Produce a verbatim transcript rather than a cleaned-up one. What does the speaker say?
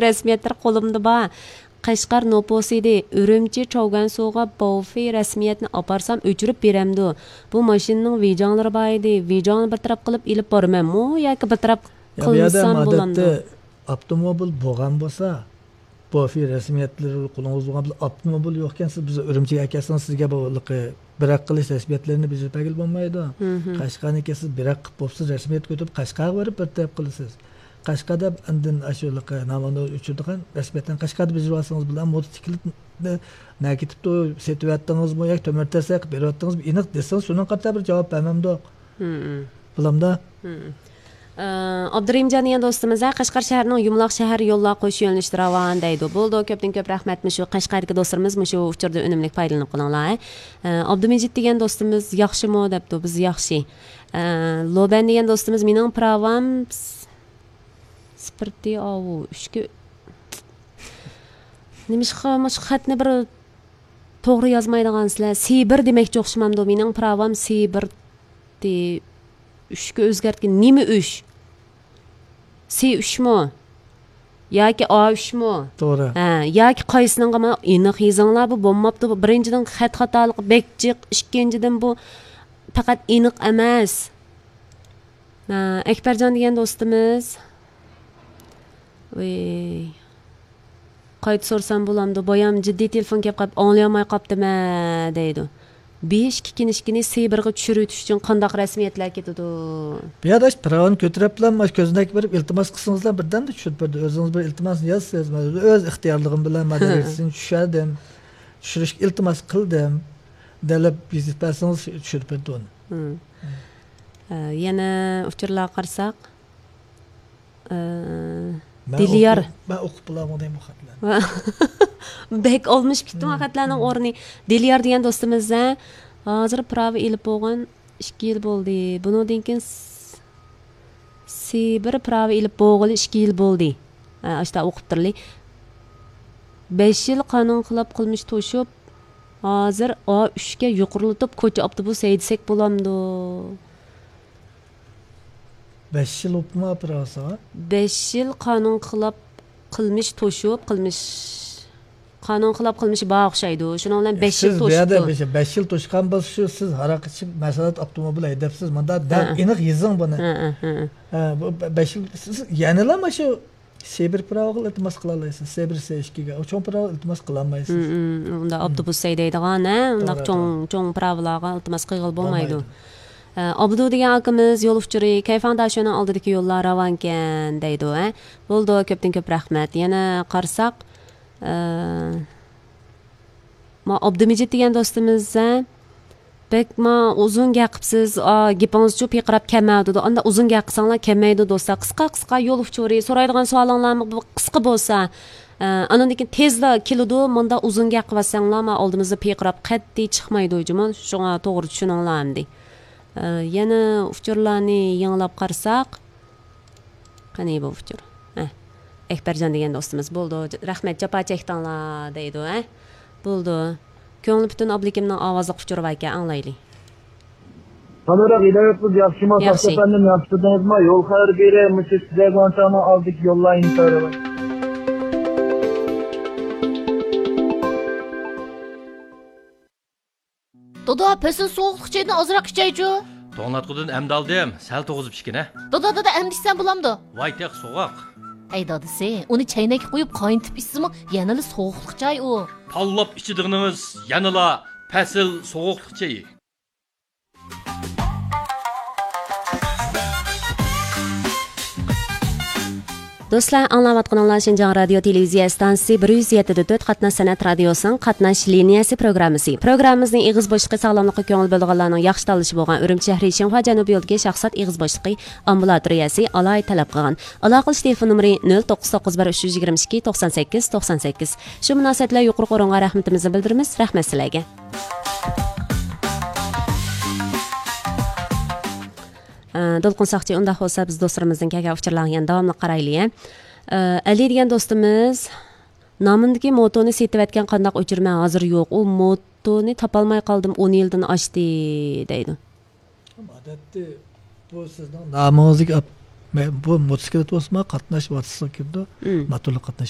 رەسمىيەتلىرى قولۇمدا بار. قەشقەر نوپۇسى ئىدى. ئۈرۈمچى چاۋگەنسۇغا بوفې رەسمىيەتنى ئاپارسام ئۆچۈرۈپ بېرەمدۇ؟ بۇ ماشىنىنىڭ ۋىجاڭلىرى بار ئىدى. ۋىجاڭنى بىر تەرەپ قىلىپ ئېلىپ بارىمەنمۇ ياكى بىر تەرەپ يا، بۇ يەردە قىلمىسام بولامدۇ؟ ئادەتتە ئاپتوموبىل بولغان بولسا، بوفې رەسمىيەتلىرى قولىڭىزدا بولغان بولسا، ئاپتوموبىل يوقكەن، سىز بىز ئۈرۈمچىگە ئەكەلسىڭىز، سىزگە بۇ ھېلىقى بىراق قىلىش رەسمىيەتلىرىنى بېجىرىپ بەرگىلى بولمايدۇ. مم. قەشقەرنىڭكى سىز بىراق قىلىپ بوپسىز، رەسمىيەت كۆتۈرۈپ قەشقەرگە بېرىپ بىر تەرەپ قىلىسىز. قەشقەردە ئاندىن ئاشۇ ھېلىقى نامايىشنى ئۆچۈرىدىغان رەسمىيەتلەرنى قەشقەردە بېجىرىۋالسىڭىز بولىدۇ. موتوسىكلىتنى نەگە كېتىپتۇ، سېتىۋەتتىڭىزمۇ ياكى تۆمۈر تەرسە قىلىپ بېرىۋەتتىڭىزمۇ، ئېنىق دېسىڭىز، شۇنىڭغا قارىتا بىر جاۋاب بەرمەمدۇق. مم. بولامدا؟ مم. ئابدۇرېھىمجان دېگەن دوستىمىز، ھە، قەشقەر شەھىرىنىڭ يۇمىلاق شەھەر يوللار قوش يۆنىلىشتە راۋان دەيدۇ. بولىدۇ، كۆپتىن كۆپ رەھمەت. مۇشۇ قەشقەردىكى دوستلىرىمىز مۇشۇ ئۇچۇردىن ئۈنۈملۈك پايدىلىنىپ قېلىڭلار. ئابدۇمىجىت دېگەن دوستىمىز ياخشىمۇ دەپتۇ. بىز ياخشى. لوبەن دېگەن دوستىمىز، مېنىڭ پىراۋام س-، سپىرتى ئاۋۇ ئۈچكە، نېمىشقا مۇشۇ خەتنى بىر توغرا يازمايدىغانسىلەر؟ سىبىر دېمەكچى ئوخشىمامدۇ؟ مېنىڭ پىراۋام سىبىرتى ئۈچكە ئۆزگەرتكەن. نېمە ئۈچ؟ سى ئۈچمۇ؟ ياكى ئا ئۈچمۇ؟ توغرا. ھە، ياكى قايسىنىڭغىمۇ؟ ئېنىق يېزىڭلار، بۇ بولماپتۇ. بۇ بىرىنچىدىن، خەت خاتالىقى بەك جىق. ئىككىنچىدىن، بۇ پەقەت ئېنىق ئەمەس. ھە، ئەكبەرجان دېگەن دوستىمىز. ۋىي. قايتا سورىسام بولامدۇ؟ بايام جىددىي تېلېفون كەپ قاپ، ئاڭلىيالماي قاپتىمەن دەيدۇ. بېشى كىكىنىشكىنى سىبىرغا چۈشۈرۈۋېتىش ئۈچۈن قانداق رەسمىيەتلەر كېتىدۇ؟ بۇ يەردە ئاشۇ پىراۋىنى كۆتۈرۈپلا، مانا كۆزنەك بېرىپ ئىلتىماس قىلسىڭىزلا، بىردەمدە چۈشۈرۈپ بېرىدۇ. ئۆزىڭىز بىر ئىلتىماسنى يازسىز، مانا ئۆز ئىختىيارلىقىم بىلەن مانا دېرىكسىنى چۈشۈردۈم، چۈشۈرۈشكە ئىلتىماس قىلدىم دەپ يېزىپ بەرسىڭىز، چۈشۈرۈپ بېرىدۇ ئۇنى. مم. ئە، يەنە ئۇچۇرلارغا قارىساق، ئە، مەن دىليار. ئوقۇپ، مەن ئوقۇپ بولالمىدىم بۇ خەتلەرنى. بەك ئالمىشىپ كېتىپتۇ خەتلەرنىڭ ئورنى. دىليار دېگەن دوستىمىز، ھە، ھازىر پىراۋا ئېلىپ بولغان ئىككى يىل بولدى. بۇنىڭدىن كېيىن س-، سىبىر پىراۋا ئېلىپ بولغىلى ئىككى يىل بولدى. ھە، ئاشتا ئوقۇپ تۇرلى. بەش يىل قانۇن خىلاپ قىلمىش توشۇپ، ھازىر ئا ئۈچكە يۇقىرىلىتىپ كوچا ئاپتوبۇس ھەيدىسەك بولامدۇ؟ بەش يىل بوپتۇما ئاپىراسىغا؟ بەش يىل قانۇن خىلاپ قىلمىش توشۇپ، قىلمىش، قانۇن خىلاپ قىلمىشى بار ئوخشايدۇ. شۇنىڭ بىلەن بەش يىل سىز بۇ يەردە توشۇپتۇ. بەش، بەش يىل توشقان بولسا، شۇ سىز ھاراق ئىچىپ، مەسىلەن، ئاپتوموبىل ھەيدەپسىز. مۇندا دەل ھە. ئېنىق يېزىڭ بۇنى. ھە، ھە، ھە. ھە، بۇ بە-، بەش يىل، سىز يەنىلا مانا شۇ سىبىر پىراۋىغا ئىلتىماس قىلالايسىز. سىبىر سى ئىككىگە. ئۇ چوڭ پىراۋىغا ئىلتىماس قىلالمايسىز. ھم، ھم. ئۇندا ئاپتوبۇس ھەيدەيدىغان، ھە، ئۇنداق توغرا، چوڭ، توغرا. چوڭ پىراۋىلارغا ئىلتىماس قىلغىلى بولمايدۇ. بولمايدۇ. ئە، ئابدۇ دېگەن ئاكىمىز يول ئۇچۇرى، كەيفاڭ داشۆنىڭ ئالدىدىكى يوللار راۋانكەن دەيدۇ، ھە. بولىدۇ، كۆپتىن كۆپ رەھمەت. يەنە قارىساق، ئە، ما ئابدۇمىجىت دېگەن دوستىمىز، ھە، بەكمۇ ئۇزۇن گەپ قىپسىز، ئا، گېپىڭىزچۇ پىرقىراپ كەلمەيدۇ. ئاندا ئۇزۇن گەپ قىلساڭلار كەلمەيدۇ دوستلار. قىسقا قىسقا يول ئۇچۇرى، سورايدىغان سوئالىڭلارمۇ بۇ قىسقا بولسا، ئا، ئانىڭدىن كېيىن تېزلا كېلىدۇ. مۇندا ئۇزۇن گەپ قىلىۋاتساڭلار، ما ئالدىمىزدا پىرقىراپ قەتئىي چىقمايدۇ جۇمۇ. شۇڭا توغرا چۈشىنىڭلار ئەمدى. ئا، يەنە ئۇچۇرلارنى يېڭىلاپ قارىساق، قېنى بۇ ئۇچۇر؟ ھە. ئەكبەرجان دېگەن دوستىمىز، بولىدۇ، رەھمەت، جاپا چەكتىڭلار دەيدۇ، ھە. بولىدۇ. كۆڭلى پۈتۈن ئابلىكىمنىڭ ئاۋازلىق ئۇچۇرى باركەن، ئاڭلايلى. قانداقراق ھىدايەت قىلىپ ياخشىما، ياخشى. ساقچى ئەپەندىم، ياخشى تۇردىڭىزمۇ؟ يول خەۋىرى بېرە، مۇشۇ سىزەگۇاڭچاڭنىڭ ئالدىدىكى يوللار ئىنتايىن. دادا، پەسىل سوغۇقلۇق چايدىن ئازراق ئىچەيچۇ. توڭلاتقۇدىن ئەمدى ئالدىم، سەل توغۇزۇپ ئىچكىنە. دادا، دادا، ئەمدى ئىچسەم بولامدۇ؟ ۋاي تېخى سوغۇق. ئەي دادىسى، ئۇنى چەينەككە قويۇپ قاينىتىپ ئىچسىمۇ يەنىلا سوغۇقلۇق چاي ئۇ. تاللاپ ئىچىدىغىنىڭىز يەنىلا پەسىل سوغۇقلۇق چېيى. دوستلار، ئاڭلاۋاتقىنىڭلار شىنجاڭ رادىيو تېلېۋىزىيە ئىستانسىسى بىر يۈز يەتتە دە تۆت قاتناش سەنئەت رادىيوسىنىڭ قاتناش لىنىيەسى پروگراممىسى. پروگراممىمىزنىڭ ئېغىز بوشلۇقى ساغلاملىققا كۆڭۈل بۆلىدىغانلارنىڭ ياخشى تاللىشى بولغان ئۈرۈمچى شەھىرى شىنخۇا جەنۇبىي يولىدىكى شاخسات ئېغىز بوشلۇقى ئامبۇلاتورىيەسى ئالاھىدە تەلەپ قىلغان. ئالاقىلىشىش تېلېفون نومۇرى نۆل توققۇز توققۇز بىر ئۈچ يۈز يىگىرمە ئىككى توقسان سەككىز توقسان سەككىز. شۇ مۇناسىۋەت بىلەن يۇقىرىقى ئورۇنغا رەھمىتىمىزنى بىلدۈرىمىز. رەھمەت سىلەرگە. ئە، دولقۇن ساقچى، ئۇنداق بولسا بىز دوستلىرىمىزدىن كەلگەن ئۇچۇرلارغا يەنە داۋاملىق قارايلى، ھە. ئە، ئەلى دېگەن دوستىمىز، نامىمدىكى موتونى سېتىۋەتكەن قانداق ئۆچۈرمە ھازىر يوق. ئۇ موتونى تاپالماي قالدىم، ئون يىلدىن ئاشتى دەيدۇ. ئادەتتە بۇ سىزنىڭ نامىڭىزدىكى ئاپ-، مە-، بۇ موتوسىكلىت بولسىمۇ قاتناش ۋاسىتىسىغا كىرىدۇ، موتورلۇق قاتناش